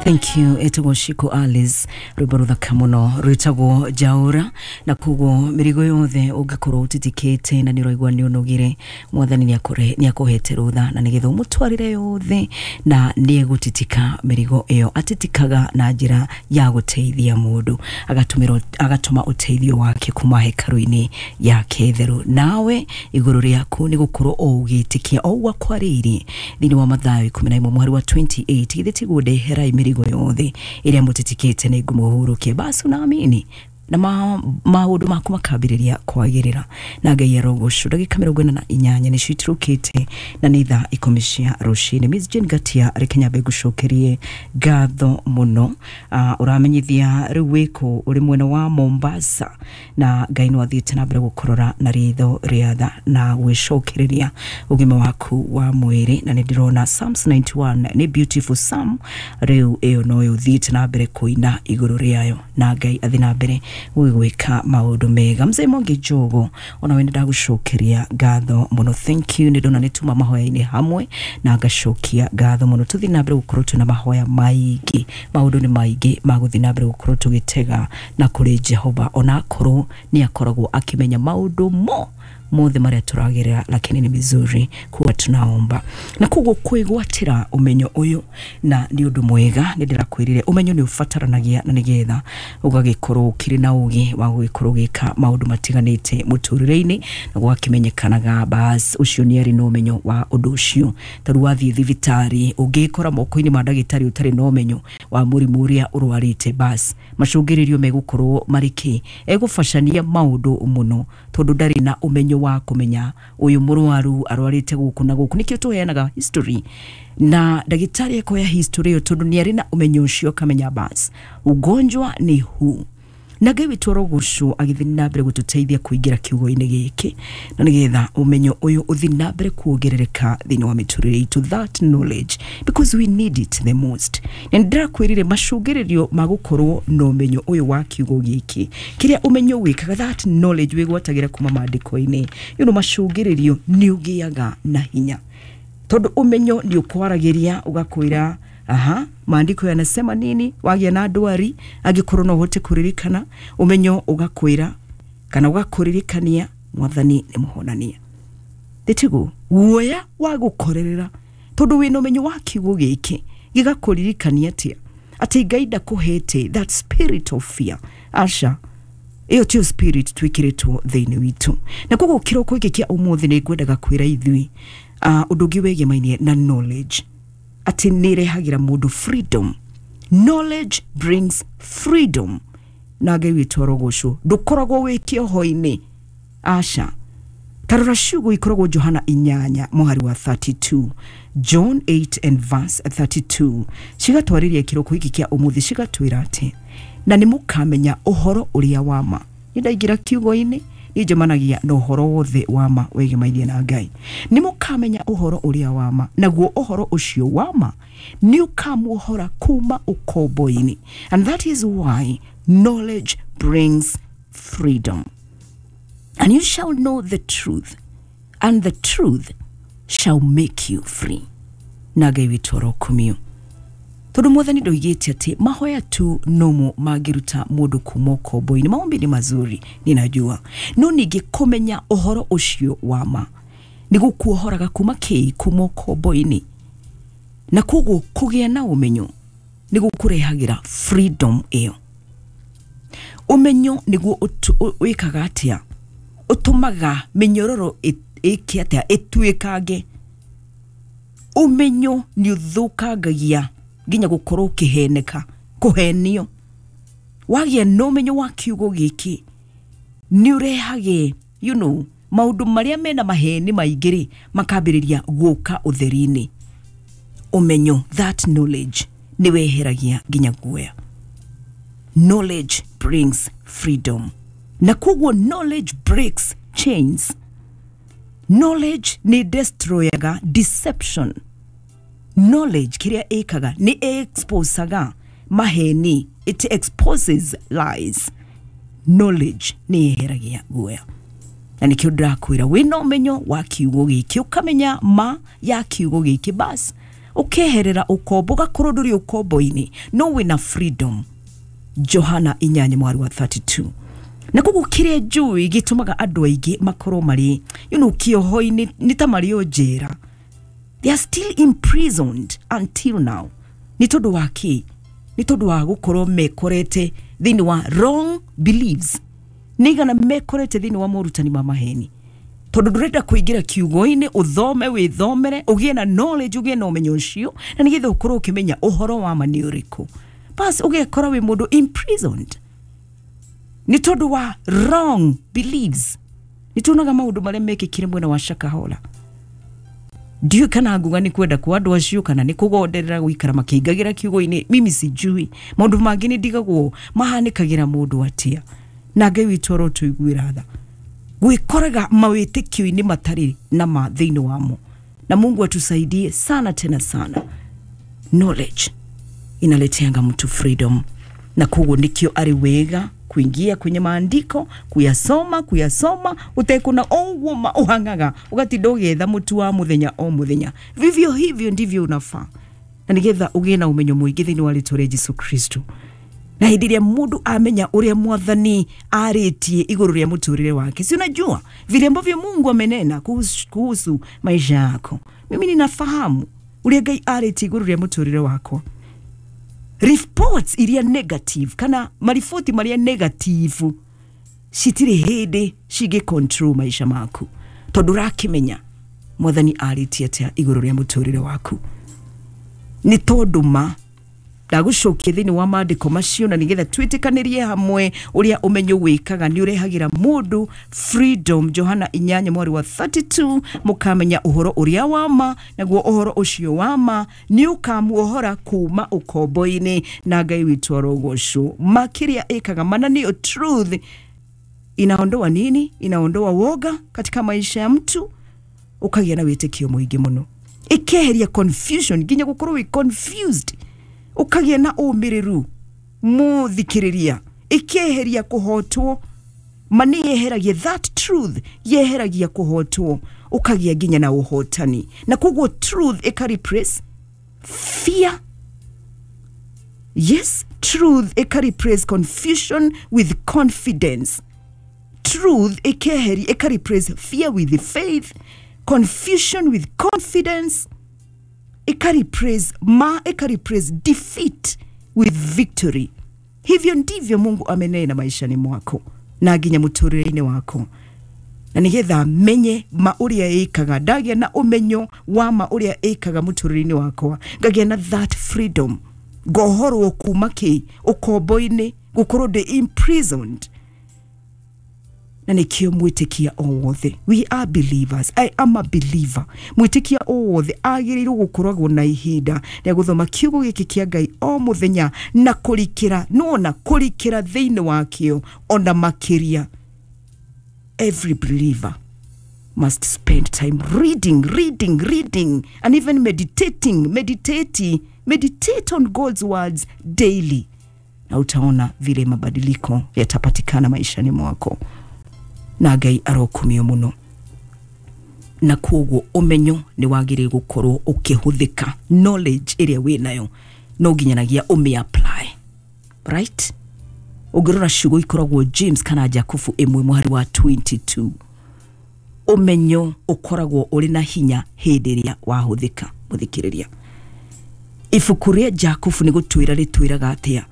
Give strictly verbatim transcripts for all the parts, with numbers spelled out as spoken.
Thank you. Etagwo Shiko Alice, rwimbo ruthaka muno rwitagwo Njaũra. Na koguo mĩrigo yothe ũngĩkorwo ũtitikĩte na nĩ ũraigua nĩ ũnogire, Mwathani nĩ akũhete rũtha na nĩgetha ũmũtwarĩre yothe, na nĩ egũtitika mĩrigo ĩyo. Atitikaga na njĩra ya gũteithia mũndũ, agatũmĩra agatũma ũteithio wake kuma hekarũ-inĩ yake theru. Nawe igũrũ rĩaku nĩ gũkorwo o ũgĩtĩkia o ũguo akwarĩirie thĩinĩ wa Mathayo ikũmi na ĩmwe mũhari wa mĩrongo ĩrĩ na inyanya, githĩ tiguo? Ndeherai mĩrigo yothe ĩrĩa mũtitikĩte nĩ ngũmũhurũkia. Basi unaamini na ma, maũndũ maku makambĩrĩria kwagĩrĩra, na Ngai arogocwo. Ndagĩka mĩrongo ĩna na inyanya nĩcio itirũkĩte na nĩ thaa ikũmi cia rũcinĩ. Miss Jane Gatia, reke nyambe ngũcokerie ngatho mũno. uh, ũramenyithia rĩu wĩkũ? Ũrĩ mwena wa Mombasa, na Ngai no athiĩte na mbere gũkũrora na ritho rĩa tha na gwĩcokereria ũgima waku wa mwĩrĩ. Na nĩ ndĩrona Psalms ninety-one nĩ beautiful psalm. Rĩu ĩyo noyo ũthiĩte na mbere kũina igũrũ rĩayo, na Ngai athi na mbere gũgĩgwĩka maũndũ mega. Mzee Mwangi Njogo, ona we nĩ ndagũcokeria ngatho mũno, thank you. Nĩ ndona nĩ tuma mahoya-inĩ hamwe na ngacokia ngatho mũno. Tũthiĩ na mbere gũkorwo twĩna mahoya maingĩ, maũndũ nĩ maingĩ ma gũthiĩ na mbere gũkorwo tũgĩtega na kũrĩ Jehova, ona akorwo nĩ akoragwo akĩmenya maũndũ mo mothe marĩa tũragerera, lakini ni vizuri kuwa tunaomba. Na koguo kwĩgwatĩra ũmenyo ũyũ na nĩ ũndũ mwega. Nĩ ndĩrakwĩrire ũmenyo nĩ ũbataranagia na nĩgetha ũgagĩkorwo ũkĩrĩ na ũgĩ wa gũgĩkorwo ũgĩka maũndũ matiganĩte mũtũrĩre-inĩ, na gwakĩmenyekanaga bas ũcio nĩ arĩ na ũmenyo wa ũndũ ũcio. Tarĩu wathiĩ thibitarĩ, ũngĩkora moko-inĩ ma ndagĩtarĩ ũtarĩ na ũmenyo wa mũrimũ ũrĩa ũrwarĩte, bas macũngĩrĩrio megũkorwo marĩ kĩ? Egũbacania maũndũ mũno tondũ ndarĩ na ũmenyo wa kũmenya ũyũ mũrwaru arwarĩte gũkũ na gũkũ. Nĩkĩo tũheanaga history, na ndagĩtarĩ ekoya history ĩyo tondũ nĩ arĩ na ũmenyo ũcio, akamenya bas ugonjwa ni huu. Na Ngai witũ arogocwo agĩthiĩ na mbere gũtũteithia kũingĩra kiugo-inĩ gĩkĩ, na nĩgetha ũmenyo ũyũ ũthiĩ na mbere kuongerereka thĩinĩ wa mĩtũrĩre itũ, that knowledge, because we need it the most. Na nĩndĩrakwĩrire macũngĩrĩrio ma gũkorwo na ũmenyo ũyũ wa kiugo gĩkĩ, kĩrĩa ũmenyo wĩkaga, that knowledge wĩgwatagĩra kuma maandĩko-inĩ, you know, macũngĩrĩrio nĩ ũgĩaga na hinya, tondũ ũmenyo nĩ ũkwaragĩria ũgakwĩra, aha, maandiko yanasema nini. Wagĩa na ndwari, angĩkorwo no ũhote kũririkana, ũmenyo ũgakwĩra kana ũgakũririkania Mwathani nĩ mũhonania. Ndĩtiguo guoya wa gũkorerera, tondũ wĩna ũmenyo wa kiugo gĩkĩ gĩgakũririkania atĩa? Atĩ Ngai ndakũhete that spirit of fear. Aca, ĩyo tiyo spirit twĩkĩrĩtwo thĩinĩ witũ. Na koguo kĩroko gĩkĩ kĩa ũmũthĩ nĩ ngwendaga kwĩra ithuĩ uh, ũndũ ũngĩ wĩgemainie na knowledge, atĩ nĩ ĩrehagĩra mũndũ freedom. Knowledge brings freedom, na Ngai witũ arogocwo. Ndũkoragwo wĩ kĩoho-inĩ, aca. Tarora ciugo ikoragwo Johana inyanya mũhari wa mĩrongo ĩtatũ na igĩrĩ, John eight and verse thirty-two, cigatwarĩria kĩroko gĩkĩ kĩa ũmũthĩ, cigatwĩra atĩ na nĩ mũkamenya ũhoro ũrĩa wa ma. Nĩ ndaingĩra kiugo-inĩ, nĩ njemanagia na ũhoro wothe wa ma wĩgemainie na Ngai. Nĩ mũkamenya ũhoro ũrĩa wa ma, naguo ũhoro ũcio wa ma nĩ ũkamuohora kuma ũkombo-inĩ. And that is why knowledge brings freedom. And you shall know the truth, and the truth shall make you free. Na Ngai witũ arokumio, tondũ Mwathani ndoigĩte atĩ mahoya tu nomo mangĩruta mũndũ kuma ũkombo-inĩ. Maombi ni mazuri, ninajua, no ningĩ kũmenya ũhoro ũcio wa ma nĩ gũkuohoraga kuma kĩ? Kuma ũkombo-inĩ. Na koguo kũgĩa na ũmenyo nĩ gũkũrehagĩra freedom ĩyo. Ũmenyo nĩguo wĩkaga atĩa? Ũtũmaga mĩnyororo ĩke atĩa? Ĩtuĩkange. Ũmenyo nĩ ũthũkangagia nginya gũkorwo ũkĩheneka, kũhenio. Wagĩa na ũmenyo wa kiugo gĩkĩ, nĩ ũrehage you know, maũndũ marĩa mena maheni maingĩ rĩ, makambĩrĩria gũka ũtheri-inĩ. Ũmenyo, that knowledge, nĩ weheragia nginya guoya. Knowledge brings freedom, na koguo knowledge breaks chains. Knowledge nĩ destroyaga deception. Knowledge kĩrĩa ĩkaga nĩ exposaga maheni, it exposes lies. Knowledge nĩ yeheragia guoya, na nĩkĩo ndĩrakwĩra wĩna ũmenyo wa kiugo gĩkĩ, ũkamenya ma ya kiugo gĩkĩ, bas. Ũkeherera ũkombo, ũgakorwo ndũrĩ ũkombo-inĩ, no wĩna freedom. Johana inyanya mwari wa thirty-two. Na koguo kĩrĩa njũĩ gĩtũmaga andũ aingĩ makorwo marĩ you know, kĩoho-inĩ nĩ ta marĩ o njera. They are still imprisoned until now. Nĩ tondũ wa kĩ? Nĩ tondũ wa gũkorwo mekorete thĩinĩ wa wrong beliefs. Nĩ igana mekorete thĩinĩ wa morutani ma maheni. Tondũ ndũrenda kũingĩra kiugo-inĩ, ũthome, wĩthomere, ũgĩe na knowledge, ũgĩe na ũmenyo ũcio, na nĩgetha ũkorwo ũkĩmenya ũhoro wa ma nĩ ũrĩkũ. Bas ũgekora wĩ mũndũ imprisoned nĩ tondũ wa wrong beliefs. Nĩ tuonaga maũndũ marĩa mekĩkire mwena wa Shakahola. Ndiũĩ kana nguga nĩ kwenda kwa andũ acio kana nĩ kũgonderera gũikara makĩingagĩra kiugo-inĩ, mimi sijui. Maũndũ mangĩ nĩ ndigagwo mahanĩkagĩra mũndũ atĩa. Na Ngai witũ arotũiguĩra tha. Gwĩkoraga mawĩtĩkio-inĩ matarĩ na ma thĩinĩ wamo. Na Mungu atusaidie sana tena sana. Knowledge inaleteanga mtu freedom. Na koguo nikio ari wega kuingia kwenye maandiko, kuyasoma, kuyasoma, utekuna oguo ma uhangaga, ugatinda ũgĩetha mũtu wa mũthenya o mũthenya. Vivyo hivyo ndivyo unafaa. Na nigetha ũgĩe na ũmenyo mũingĩ thĩinĩ wa rĩtwa rĩa Jesu Kristo. Na hĩndĩ ĩrĩa mũndũ amenya ũrĩa mwathani arĩtie igũrũ rĩa mũtũrĩre wake, si unajua vile ambavyo Mungu amenena kuhusu, kuhusu maisha yako. Mimi ninafahamu ũrĩa Ngai arĩtie igũrũ rĩa mũtũrĩre wakwa. Reports iria negative kana mariboti maria negative citirĩ hĩndĩ cingĩ control maisha maku, tondũ ũrakĩmenya mwathani arĩtie atĩa igũrũ rĩa mũtũrĩre waku. Nĩ tondũ ma ndagũcokia thĩinĩ wa maandĩko macio, na nĩgetha twĩtĩkanĩrie hamwe ũrĩa ũmenyo wĩkaga nĩ ũrehagĩra mũndũ freedom. Johana inyanya mwari wa thirty-two, mũkamenya ũhoro ũrĩa wa ma, naguo ũhoro ũcio wa ma nĩ ũkamuohora kuma ũkombo-inĩ. Na Ngai witũ arogocwo. Ma kĩrĩa ĩkaga mana nĩyo truth inaondoa nini? Inaondoa woga katika maisha ya mtu, ũkagĩa na wĩtĩkio mũingĩ mũno. Ĩkeheria confusion, nginya gũkorwo wĩ confused, ũkagĩa na ũmĩrĩru mũthikĩrĩria. Ĩkeheria kũhotwo, ma nĩ yeheragia that truth, yeheragia kũhotwo, ũkagĩa nginya na ũhotani. Na koguo truth ĩka replace fear. Yes, truth ĩka replace confusion with confidence. Truth ĩkeheria, ĩka replace fear with faith, confusion with confidence. Ĩka replace ma, ĩka replace defeat with victory. Hivyo ndivyo Mungu amenena maishani mwako na nginya mũtũrĩre-inĩ wako. Na nĩgetha menye ma ũrĩa ĩkaga, ndagĩa na ũmenyo wa ma ũrĩa ĩkaga mũtũrĩre-inĩ wakwa, ngagĩa na that freedom, ngohorwo kuma kĩ ũkombo-inĩ, gũkorwo ndĩ imprisoned. Na nĩkĩo mwĩtĩkia o wothe, we are believers, I am a believer. Mwĩtĩkia o wothe agĩrĩirwo gũkoragwo na ihinda rĩa gũthoma kiugo gĩkĩ kĩa Ngai o mũthenya na kũrikĩra, nĩwona kũrikĩra thĩinĩ wakĩo ona makĩria. Every believer must spend time reading, reading, reading, and even meditating, meditating, meditate on God's words daily. Na utaona vile mabadiliko yatapatikana maishani mwako. Na Ngai arokumio muno. Na koguo ũmenyo nĩ wagĩrĩire gũkorwo ũkĩhũthĩka. Knowledge ĩrĩa wĩnayo no nginyanagia ũmĩ apply. Right? Ũngĩrora ciugo ikoragwo James kana Jakubu ĩmwe mũhari wa twenty-two. Ũmenyo ũkoragwo ũrĩ na hinya hĩndĩ ĩrĩa wahũthĩka. Mũthikĩrĩria, ibuku rĩa Jakubu nĩ gũtwĩra rĩtwĩraga atĩa?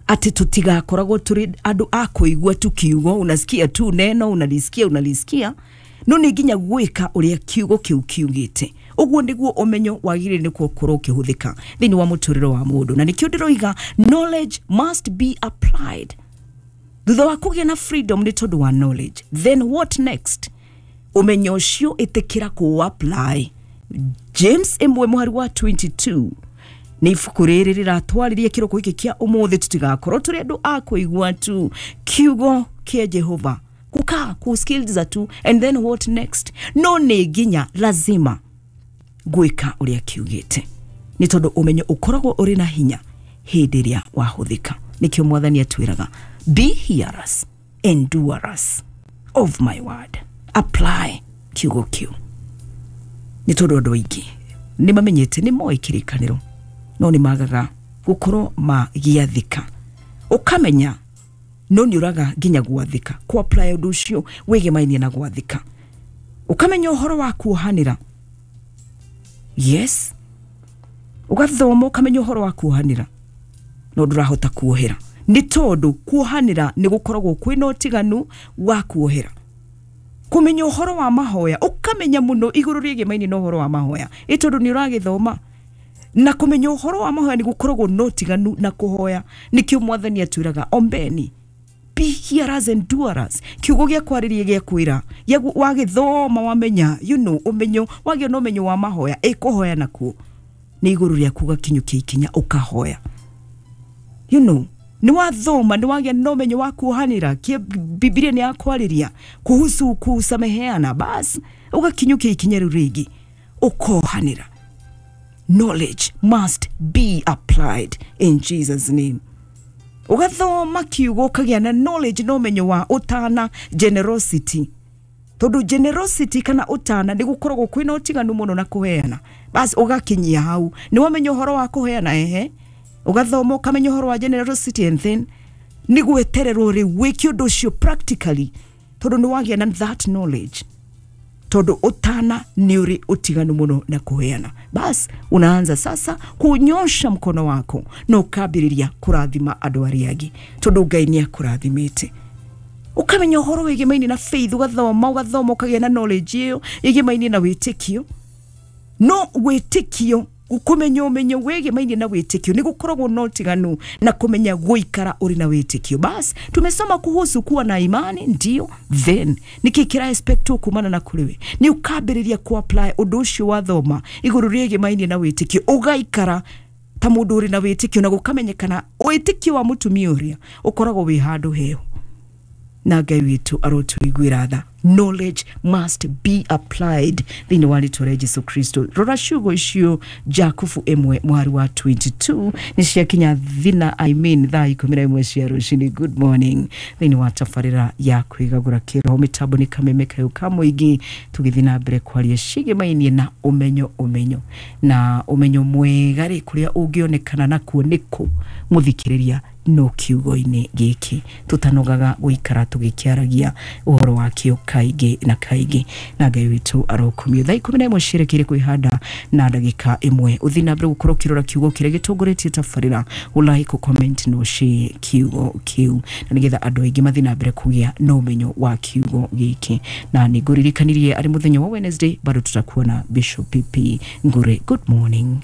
Atĩ tũtigakoragwo tũrĩ andũ a kũigua tu kiugo, unasikia tu neno, unalisikia, unalisikia, no nĩ nginya gwĩka ũrĩa kiugo kĩu kiugĩte. Ũguo nĩguo ũmenyo wagĩrĩire nĩ gũkorwo ũkĩhũthĩka thĩinĩ wa mũtũrĩre wa mũndũ. Na nĩkĩo ndĩroiga knowledge must be applied. Thutha wa kũgĩa na freedom nĩ tondũ wa knowledge, then what next? Ũmenyo ũcio ĩtĩkĩra kũ apply. James ĩmwe mũhari wa twenty-two nĩ ibuku rĩrĩ rĩratwarĩria kĩroko gĩkĩ kĩa ũmũthĩ, tũtigakorwo tũrĩ andũ a kũigua tu kiugo kĩa Jehova, kukaa kusikiliza tu, and then what next? No nĩ nginya lazima gwĩka ũrĩa kiugĩte, nĩ tondũ ũmenyo ũkoragwo ũrĩ na hinya hĩndĩ ĩrĩa wahũthĩka. Nĩkĩo mwathani atwĩraga, be hearers and doers of my word. Apply kiugo kĩu. Nĩ tondũ andũ aingĩ Nĩ mamenyete nĩ moĩ kĩrĩkanĩro no nĩ magaga gũkorwo magĩathĩka. Ũkamenya no nĩ ũraga nginya gwathĩka, ku apply ũndũ ũcio wĩgemainie na gwathĩka. Ũkamenya ũhoro wa kuohanĩra, yes, ũgathoma ũkamenya ũhoro wa kuohanĩra no ndũrahota kuohera, nĩ tondũ kuohanĩra nĩ gũkoragwo kwĩna ũtiganu wa kuohera. Kũmenya ũhoro wa mahoya, ũkamenya mũno igũrũ rĩgemaine na ũhoro wa mahoya, ĩ tondũ nĩ ũragĩthoma. Na kũmenya ũhoro wa mahoya nĩ gũkoragwo na ũtiganu na kũhoya. Nĩkĩo mwathani atwĩraga ombeni, be hearers and doers. Kiugo gĩa kwarĩria gĩa kwĩra wagĩthoma wamenya, you know, ũmenyo wagĩa na ũmenyo wa mahoya, ĩ kũhoya nakuo nĩ igũrũ rĩaku ũgakinyũkia ikinya ũkahoya. You know, nĩ wathoma nĩ wagĩa na ũmenyo wa kuohanĩra, Biblia nĩ yakwarĩria kuhusu kusameheana, bas ũgakinyũkia ikinya rĩu rĩngĩ ũkohanĩra. Knowledge must be applied in Jesus name. Ũgathoma kiugo ũkagĩa na knowledge na ũmenyo wa ũtana, generosity, tondũ generosity kana ũtana nĩ gũkoragwo kwĩna ũtiganu mũno na kũheana. Bas ũgakinyia hau nĩ wamenya ũhoro wa kũheana, ehe, ũgathoma ũkamenya ũhoro wa generosity, and then nĩ gwetererwo rĩu wĩke ũndũ ũcio practically, tondũ nĩ wagĩa na that knowledge, tondũ ũtana nĩ ũrĩ ũtiganu mũno na kũheana. Bas unaanza sasa kunyosha mkono wako na ũkambĩrĩria kũrathima andũ arĩa angĩ, tondũ Ngai nĩ akũrathimĩte. Ũkamenya ũhoro wĩgemaine na faith, ũgathoma ũgathoma ũkagĩa na knowledge ĩyo ĩgemaine na wĩtĩkio. No wĩtĩkio, kũmenya ũmenyo wĩgemaine na wĩtĩkio nĩ gũkoragwo na ũtiganu na kũmenya gũikara ũrĩ na wĩtĩkio. Bas tumesoma kuhusu kuwa na imani, ndio, then nĩkĩ kĩra expect kumana na kũrĩ we? Nĩ ũkambĩrĩria ku apply ũndũ ũcio wathoma igũrũ rĩgemaine na wĩtĩkio, ũgaikara ta mũndũ ũrĩ na wĩtĩkio, na gũkamenyekana wĩtĩkio wa mũtumia ũrĩa ũkoragwo wĩ handũ heho. Na Ngai witũ arotũiguĩra tha. Knowledge must be applied thĩinĩ wa rĩtwa rĩa Jesu Kristo. Rora ciugo icio Jakubu ĩmwe mwari wa twenty-two nĩ ciakinya thina, I mean thaa ikũmi na ĩmwe cia rũcinĩ. Good morning thĩinĩ wa tabarĩra ya kwĩgagũra kĩroho. Mĩtambo nĩ kameme kayũ ka mũingĩ, tũgĩthiĩ na mbere kwaria ciĩgĩmainie na ũmenyo ũmenyo na ũmenyo mwega rĩ, kũrĩa ũngĩonekana nakuo nĩkũ mũthikĩrĩria no kiugo-inĩ gĩkĩ tũtanogaga gũikara tũgĩkĩaragia ũhoro wakĩo kaingĩ na kaingĩ. Na Ngai witũ arokumio. Thaa ikũmi na ĩmwe cierekeire kwĩhanda na ndagĩka ĩmwe. Ũthiĩ na mbere gũkorwo ũkĩrora kiugo kĩrĩa gĩtongoretie tabarĩra, ũlike, comment na ũshare kiugo kĩu, na nĩgetha andũ aingĩ mathiĩ na mbere kũgĩa na ũmenyo wa kiugo gĩkĩ. Na nĩngũririkanirie arĩ mũthenya wa Wednesday bado tutakuwa na Bishop P P Ngure. Good morning.